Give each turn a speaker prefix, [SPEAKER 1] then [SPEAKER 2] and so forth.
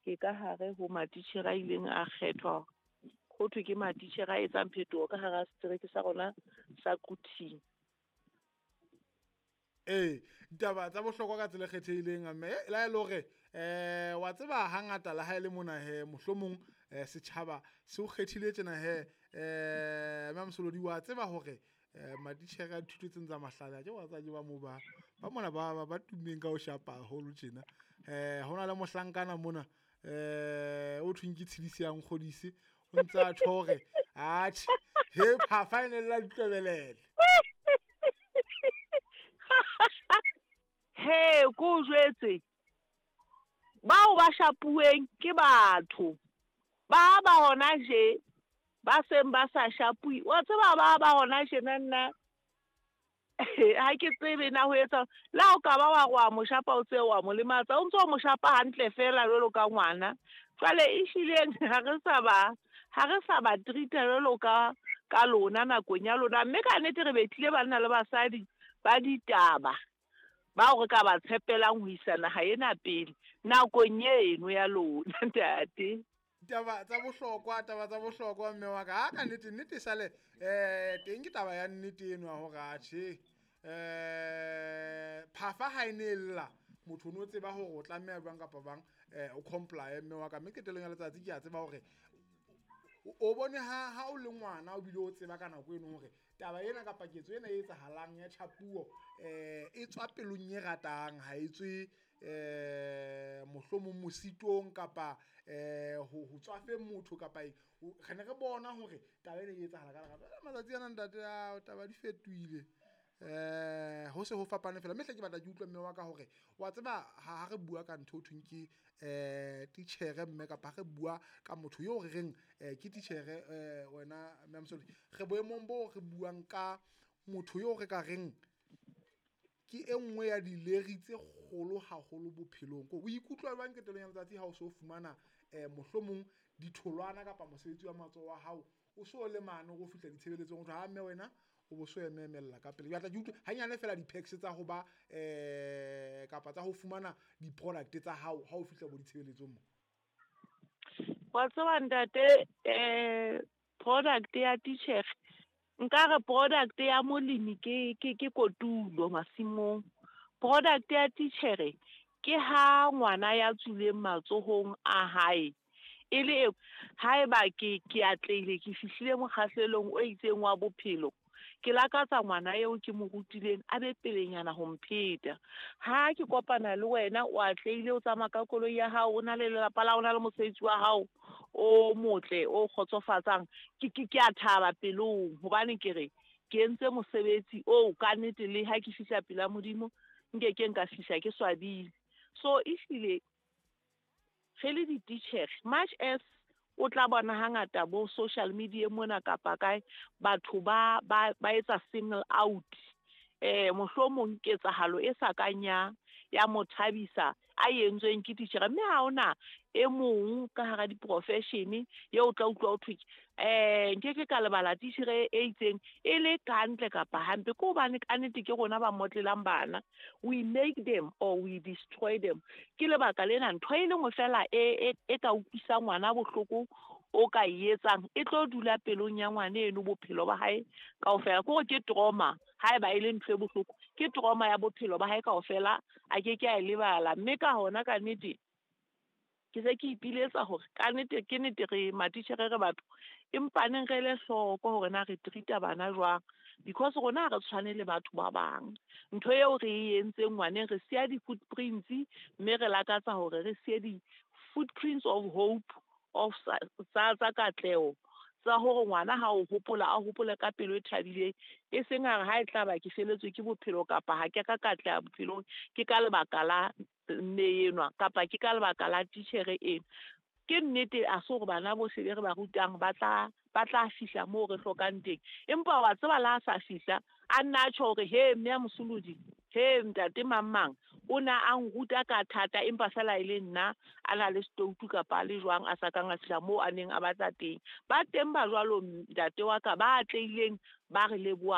[SPEAKER 1] Ke ka hare ho matitjhere a ileng a kgethwa ho thwe ke matitjhere a etsang phetoho ka hara setereke sa rona sa Quthing.
[SPEAKER 2] Ee, ditaba tsa bohlokwa ka tsela e kgethehileng, mme le ha e le hore wa tseba hangata le ha e le mona hee mohlomong setjhaba se o kgethile tjena hee, mme Mosolodi wa tseba hore matitjhere a dithuto tsena tsa mahlale akere wa tseba ke ba moo ba mona ba tummeng ka ho shapa haholo tjena. Ho na le mohlankana mona o thweng ke Tshidisi ya Nkgodise, o ntsa tjho hore atjhe he phafa e ne lla ditlwebelele.
[SPEAKER 1] He ko o jwetse, bao ba shapuweng ke batho ba ba hona je ba seng ba sa shapuwe. Wa tseba ba ba hona tjena nna ha ke tsebe na ho etsa le ha o ka ba wa re wa mo shapa, o tse wa mo lematsa, o ntso o mo shapa hantle feela jwalo ka ngwana. Jwale ehlileng ha re sa ba, ha re sa ba treat-a jwalo ka lona nakong ya lona. Mme ka nnete re betlile banna le basadi ba ditaba bao re ka ba tshepelang ho isa naha ena pele nakong eno ya lona, ntate.
[SPEAKER 2] Taba tsa bohlokwa, taba tsa bohlokwa mme wa ka. Ha ka nnete, nnete sale teng ke taba ya nnete eno ya hore atjhe phafa ha e ne e lla, motho o no tseba hore o tlameha jwang kapa bang o comply mme wa ka. Mme qetellong ya letsatsi ke a tseba hore o bone ha o le ngwana o bile o tseba ka nako eno hore taba ena kapa ketso ena e etsahalang ya tjhapuo e tswa pelong e ratang, ha e tswe mohlomong mositong kapa ho tswafeng motho kapa eng. Re ne re bona hore taba ena e etsahala ka lerato. Matsatsi ana ntate ao taba di fetohile, ho se ho fapane fela. Mme hle ke batla ke utlwe mme wa ka hore wa tseba ha re bua ka ntho ho thweng ke titjhere mme, kapa ha re bua ka motho eo re reng ke titjhere, wena mme Mosolodi, re boemong bo re buang ka motho eo re ka reng ke e nngwe ya dileri tse kgolo haholo bophelong. Ko o ikutlwa jwang qetellong ya letsatsi ha o so fumana mohlomong ditholwana kapa mosebetsi wa matsoho wa hao o so le mane o fihla ditshebeletsong, o thwe ha mme wena o bo so ememella ka pele. Ke batla ke utlwe hanyane fela di-perks tsa ho ba kapa tsa ho fumana di-product tsa hao ha o fihla bo ditshebeletsong mo.
[SPEAKER 1] Wa tseba ntate, product ya titjhere, nkare product ya molemi ke kotulo masimong. Product ya titjhere ke ha ngwana ya tswileng matsohong a hae e le haeba ke atlehile, ke fihlile mokgahlelong o itseng wa bophelo, ke lakatsa ngwana eo ke mo rutileng a be pelenyana ho mpheta. Ha ke kopana le wena o atlehile, o tsamaya ka koloi ya hao, o na le lelapa la hao, o na le mosebetsi wa hao o motle o kgotsofatsang, ke a thaba pelong hobane ke re ke entse mosebetsi oo ka nnete. Le ha ke fihla pela Modimo nke ke nka fihla ke swabile. So ehlile re le dititjhere, much as o tla bona hangata bo social media mona kapa kae batho ba etsa single out, mohlomong ketsahalo e sa kang ya mo thabisa a entsweng ke titjhere, mme ha hona e mong ka hara di-profession eo o tla utlwa ho thwe nkeke ka lebala titjhere e itseng e le kantle kapa hampe, ke hobane ka nnete ke rona ba motlelang bana. We make them or we destroy them. Ke lebaka lena ntho e le nngwe fela e ka utlwisang ngwana bohloko o ka e etsang e tlo dula pelong ya ngwana eno bophelo ba hae kaofela. Ke hore ke trauma, haeba e le ntho e bohloko, ke trauma ya bophelo ba hae kaofela, a ke ke a e lebala. Mme ka hona ka nnete ke se ke ipiletsa hore ka nnete ke nnete re matitjhere re batho, empa neng re ele hloko hore na re treat-a bana jwang, because rona ha re tshwane le batho ba bang. Ntho eo re e entseng ngwaneng, re siya di-footprints, mme re lakatsa hore re siye di-footprints of hope of tsa katleho, tsa hore ngwana ha o hopola a hopole ka pelo e thabileng, e seng hare ha e tla ba ke feletswe ke bophelo kapa ha ke ka katleha bophelong ke ka lebaka la mme enwa kapa ke ka lebaka la titjhere ena. Ke nnete a se hore bana bohle be re ba rutang ba tla fihla moo re hlokang teng, empa wa tseba la sa fihla a nna a tjho hore he mme ya Mosolodi, he ntate mang mang o na a nruta ka thata, empa fela e le nna a na le stoutu kapa a le jwang a sa kang a fihla moo a neng a batla teng. Ba teng ba jwalo ntate wa ka ba atlehileng, ba re leboha.